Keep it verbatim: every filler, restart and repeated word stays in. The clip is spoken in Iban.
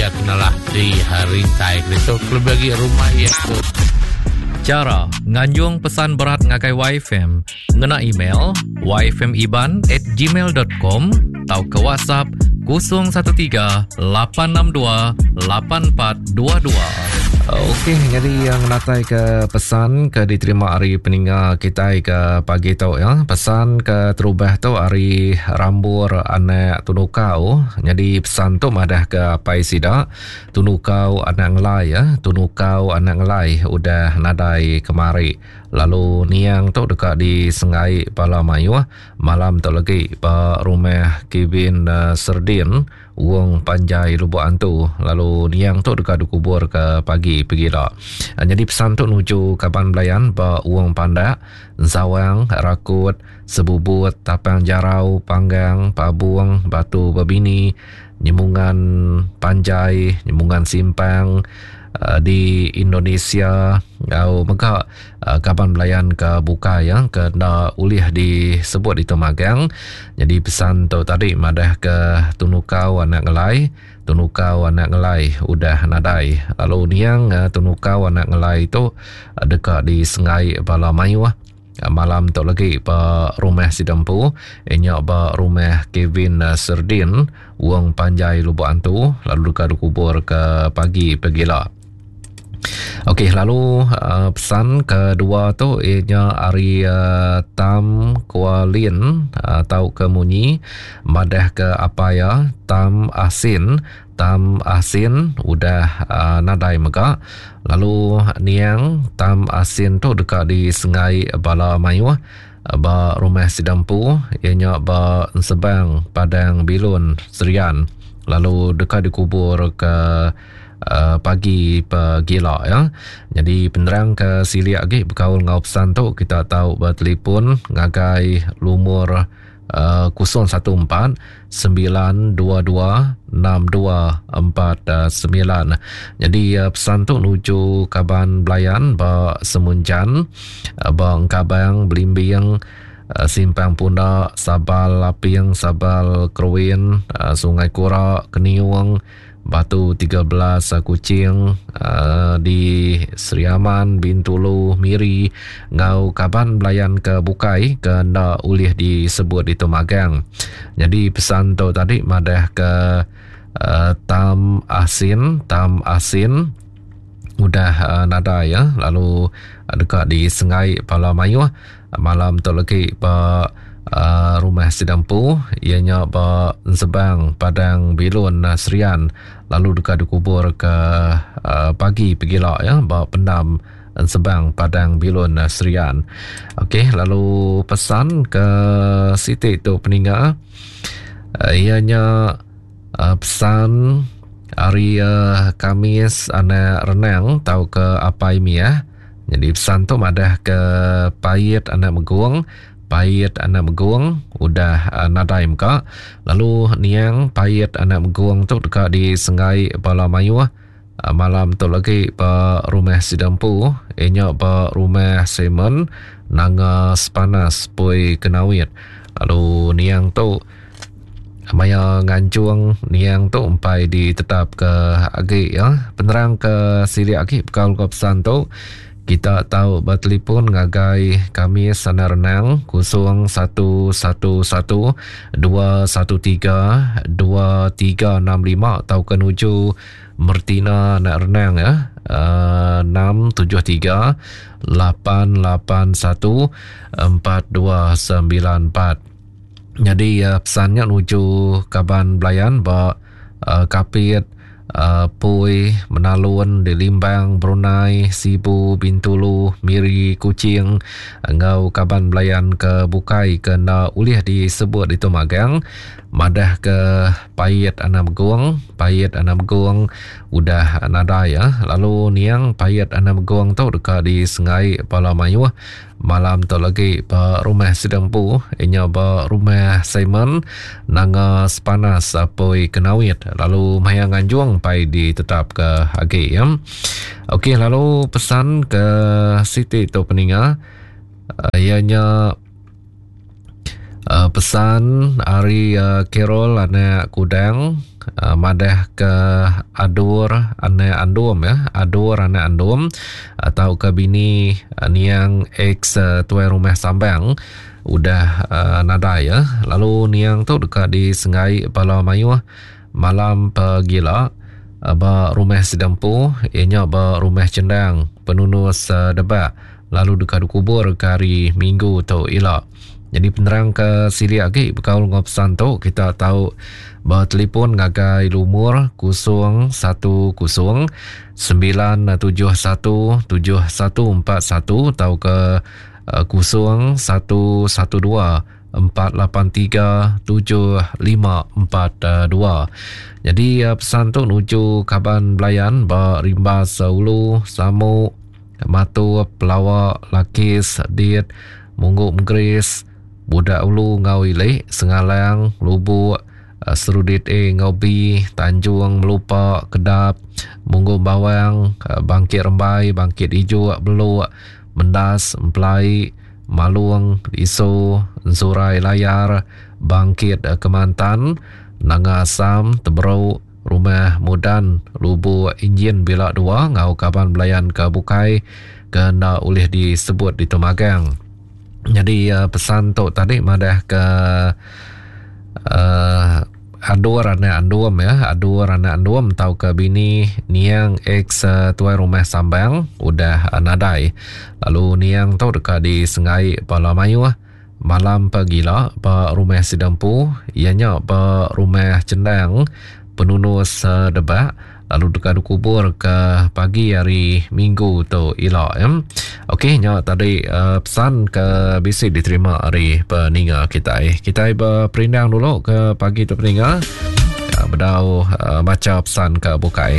iya kenalah di rintai itu kelebih lagi rumah iya tu. Chara nganjung pesan berat ngagai Y F M ngena email y f m iban at gmail dot com tau ke WhatsApp kosong satu tiga lapan enam dua lapan empat dua dua. Okey, jadi yang natai ke pesan ke diterima hari peninga kita ke pagi tu ya. Pesan ke terubah tu hari Rambur anak Tunukau. Jadi pesan tu madah ke apai sida Tunukau anak ngelai ya, Tunukau anak ngelai udah nadai kemari. Lalu niang tu dekat di Sengai Pala Mayuh malam tu lagi ba rumah Kevin uh, Serdin Wong Panjai Lubuk Antu. Lalu niang tu dekat dikubur ke pagi pegila. Jadi pesan tu nuju kaban belayan ba Wong Pandak, Zawang, Rakut, Sebubut, Tapang Jarau, Panggang, Pabung, Batu Bebini, Nyemungan Panjai, Nyemungan Simpang uh, di Indonesia. Au mega uh, kaban belayan ke buka ya ke nda ulih disebut di Temagang. Jadi pesan tu tadi madah ke Tunukau anak ngelai, Tunukau anak ngelai udah nadai. Lalu niang uh, Tunukau anak ngelai tu uh, dekat di Sengai Bala Mayuh malam tu lagi ba rumah Sidempu enyak ba rumah Kevin Serdin Wong Panjai Lubuk Antu, lalu dekat dikubur ke pagi pegila. Okey, lalu uh, pesan kedua tu ianya ari uh, Tam Kualin atau uh, ke munyi madah ke apa ya Tam Asin, Tam Asin udah uh, nadai mega. Lalu niang Tam Asin tu dekat di Sengai Bala Mayuh ba rumah Sidempu ianya ba Sebang Padang Bilun Serian, lalu dekat dikubur ke Uh, pagi pegila ya. Jadi penerang ke silik lagi berkaul ngau pesan tu kita tahu bertelefon ngagai lumur uh, kosong satu empat sembilan dua dua enam dua empat sembilan. Jadi uh, pesan tu nuju kaban belayan ba Semunjan, uh, ba Engkabang, Belimbing, uh, Simpang Pundak, Sabal Laping, Sabal Keruin, uh, Sungai Kura, Keniung, Batu tiga belas Kuching, uh, di Sri Aman, Bintulu, Miri, ngau kaban belayan ke Bukai ke nda ulih disebut di Temagang. Jadi pesan tu tadi madah ke uh, Tam Asin, Tam Asin udah uh, nadai ya, lalu uh, dekat di Sengai Pala Mayuh malam tu lagi ba Uh, rumah Sidampu ianya ba Sebang Padang Bilun uh, Serian, lalu dekat dikubur ke uh, pagi pegila ya ba pendam Sebang Padang Bilun uh, Serian. Okey, lalu pesan ke Siti tu peninga uh, ianya uh, pesan hari uh, Kamis anak renang tau ke apai miah. Jadi pesan tu madah ke pait anak megung, pait anak megung udah uh, nadai muka. Lalu niang pait anak megung tu dekat di Sengai Bala Mayuh uh, malam tu lagi ba rumah Sidampu ianya ba rumah Simon Nanga Sepanas Pui Kenawit. Lalu niang tu maya ngancung niang tu empai ditetap ke agi ya. Penerang ke silik agi bekal ke pesan tu kita tahu bertelefon ngagai kami sana renang kosong satu satu satu dua satu tiga dua tiga enam lima atau ke nuju Mertina nak renang ya, uh, enam tujuh tiga lapan lapan satu empat dua sembilan empat. Jadi uh, pesannya nuju kaban belayan ba uh, Kapit, Uh, Pui, Menalun, di Limbang, Brunei, Sibu, Bintulu, Miri, Kuching, engau kaban belayan ke Bukai ke nda ulih disebut di Temagang, madah ke Pait Anak Megung, Pait Anak Megung udah nadai ya. Lalu niang Pait Anak Megung tu dekat di Sengai Pala Mayuh malam tu lagi ba rumah Sidempu inya ba rumah Simon Nanga Sepanas Poi Kenawit. Lalu maya nganjung pai ditetap ke agi ya. Okey, lalu pesan ke Siti tu peninga uh, ianya uh, pesan ari uh, Carol anak Kudang uh, madah ke adur anak andum ya, adur anak andum atau ke bini uh, niang ex uh, tuai rumah Sambang udah uh, nadai ya. Lalu niang tu dekat di Sengai Pala Mayuh malam pegila uh, ba rumah Sedempu ianya ba rumah Cendang Penunus uh, Debak, lalu dekat dikubur ke hari Minggu tu ila. Jadi penerang ke sili lagi berkaul dengan pesan tu kita tahu bertelefon ngagai lumur kosong satu kosong sembilan tujuh satu tujuh satu empat satu atau ke kosong satu satu dua empat lapan tiga tujuh lima empat dua. Jadi pesan tu nuju kaban belayan ba Rimbas Ulu, Samuk, Matu, Pelawak, Lakis, Dit, Mungguk Menggeris, Budak Ulu ngau Ilik, Sengalang, Lubuk, Serudit A ngau B, Tanjung, Melupa, Kedap, Mungguk Bawang, Bangkit Rembai, Bangkit Ijuk, Beluk, Mendas, Empelai, Malung, Iso, Ensurai Layar, Bangkit Kemantan, Nanga Asam, Teberuk, Rumah Mudan, Lubuk Injin Bila Dua ngau kaban belayan ke Bukai kena oleh disebut di Temagang. Jadi uh, pesan tu tadi madah ke uh, adur anak andum ya, adur anak andum tau ke bini niang ex uh, tuai rumah Sambang udah uh, nadai. Lalu niang tu dekat di Sengai Pala Mayuh malam pegila ba rumah Sidampu ianya ba rumah Cendang Penunus uh, Debak, lalu dekat dikubur ke pagi hari Minggu tu ila ya. Okey, nya tadi uh, pesan ke bisi diterima hari peninga kita. Kita berperindang dulu ke pagi tu peninga. Uh, bedau uh, baca pesan ke bukai.